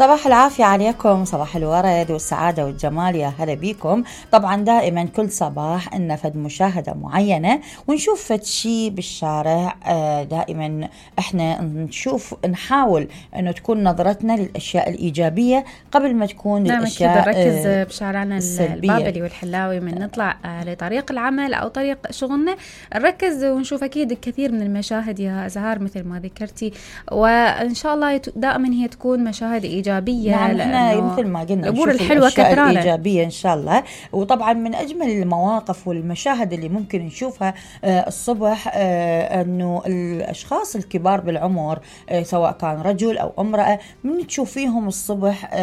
صباح العافية عليكم، صباح الورد والسعادة والجمال، يا هلا بيكم. طبعا دائما كل صباح إن فد مشاهدة معينة ونشوف فد شي بالشارع. دائما احنا نحاول انه تكون نظرتنا للأشياء الإيجابية قبل ما تكون الأشياء نركز بشارعنا البابلي والحلاوي من نطلع لطريق العمل أو طريق شغلنا، نركز ونشوف أكيد الكثير من المشاهد يا زهار مثل ما ذكرتي، وإن شاء الله دائما هي تكون مشاهد إيجابية. نعم، احنا مثل ما قلنا الأمور الحلوة كثيرة إيجابية إن شاء الله. وطبعا من أجمل المواقف والمشاهد اللي ممكن نشوفها الصبح أنه الأشخاص الكبار بالعمر سواء كان رجل أو امرأة من تشوفيهم الصبح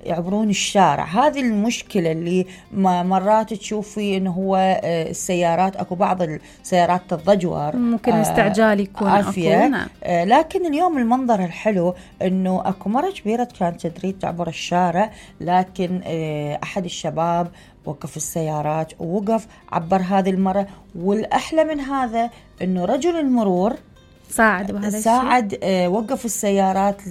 يعبرون الشارع. هذه المشكلة اللي مرات تشوفي أنه هو السيارات، أكو بعض السيارات تضجور، ممكن استعجال يكون عافية. لكن اليوم المنظر الحلو أنه أكو مرة كبيرة كانت تريد تعبر الشارع، لكن أحد الشباب وقف السيارات ووقف عبر هذه المرة. والأحلى من هذا أنه رجل المرور ساعد بهذا الشيء، وقف السيارات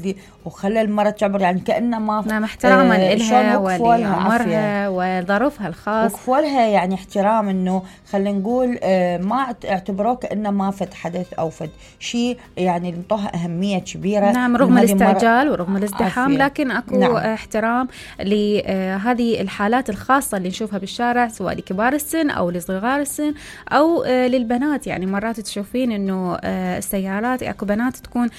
وخلى المرة تعبر، يعني كأنه ما نعم احتراما لها ولعمرها وظروفها الخاص، وقفوا لها يعني احترام، انه خلينا نقول ما اعتبروه كأنه ما فد حدث او فد شيء، يعني انطوها أهمية كبيرة. نعم، رغم الاستعجال ورغم الازدحام لكن اكو نعم. احترام لهذه الحالات الخاصة اللي نشوفها بالشارع، سواء لكبار السن او لصغار السن او للبنات. يعني مرات تشوفين انه السيارات اكو بنات تكون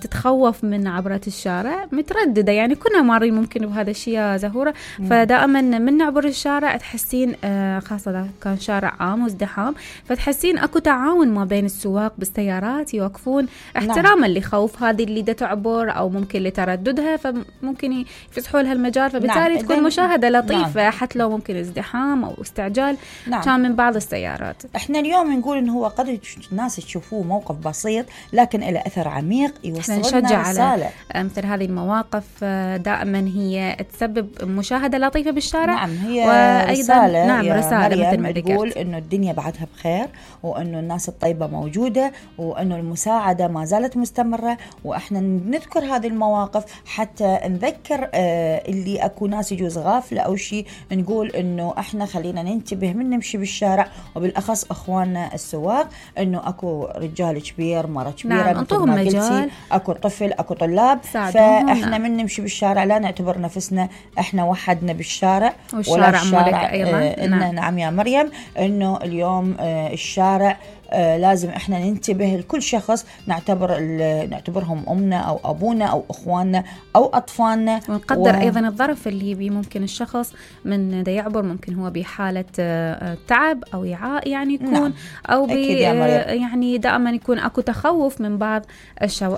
تتخوف من عبرة الشارع، مترددة، يعني كنا مارين ممكن بهذا الشيء يا زهورة. فدائما من نعبر الشارع تحسين خاصة إذا كان شارع عام وازدحام، فتحسين اكو تعاون ما بين السواق بالسيارات، يوقفون احتراما لخوف هذه اللي دا تعبر او ممكن لترددها، فممكن يفسحوا لها المجال، فبالتالي تكون مشاهدة لطيفة حتى لو ممكن ازدحام او استعجال كان من بعض السيارات. احنا اليوم نقول انه هو قد الناس تشوفوه موقف بسيط لكن له أثر عميق يوصل لنا رسالة. مثل هذه المواقف دائما هي تسبب مشاهدة لطيفة بالشارع. نعم، هي وأيضا رسالة. نعم، رسالة مثل ما تقول إنه الدنيا بعدها بخير، وإنه الناس الطيبة موجودة، وإنه المساعدة ما زالت مستمرة. وإحنا نذكر هذه المواقف حتى نذكر اللي أكو ناس يجوز غافلة أو شيء، نقول إنه إحنا خلينا ننتبه من نمشي بالشارع، وبالأخص أخواننا السواق، إنه أكو رجال كبير، مرة كبيرة، نعم، انطوهم مجال، اكو طفل، اكو طلاب، فاحنا من نمشي بالشارع لا نعتبر نفسنا احنا وحدنا بالشارع، والشارع مالك ايضا. نعم يا مريم، انه اليوم الشارع لازم احنا ننتبه لكل شخص نعتبرهم امنا او ابونا او اخواننا او اطفالنا، ونقدر ايضا الظرف اللي بي ممكن الشخص من دا يعبر، ممكن هو بحالة تعب او إعاء يعني يكون، نعم. او يعني دائما يكون اكو تخوف من بعض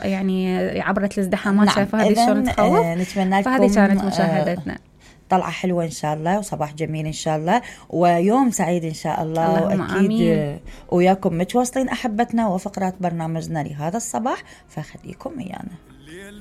يعني عبرة الازدحامات. نعم. شايفه هذه شلون تخوف. نتمنى لكم فهذه كانت مشاهدتنا طلعة حلوة إن شاء الله، وصباح جميل إن شاء الله، ويوم سعيد إن شاء الله. وأكيد وياكم متواصلين أحبتنا وفقرات برنامجنا لهذا الصباح، فخليكم ويانا.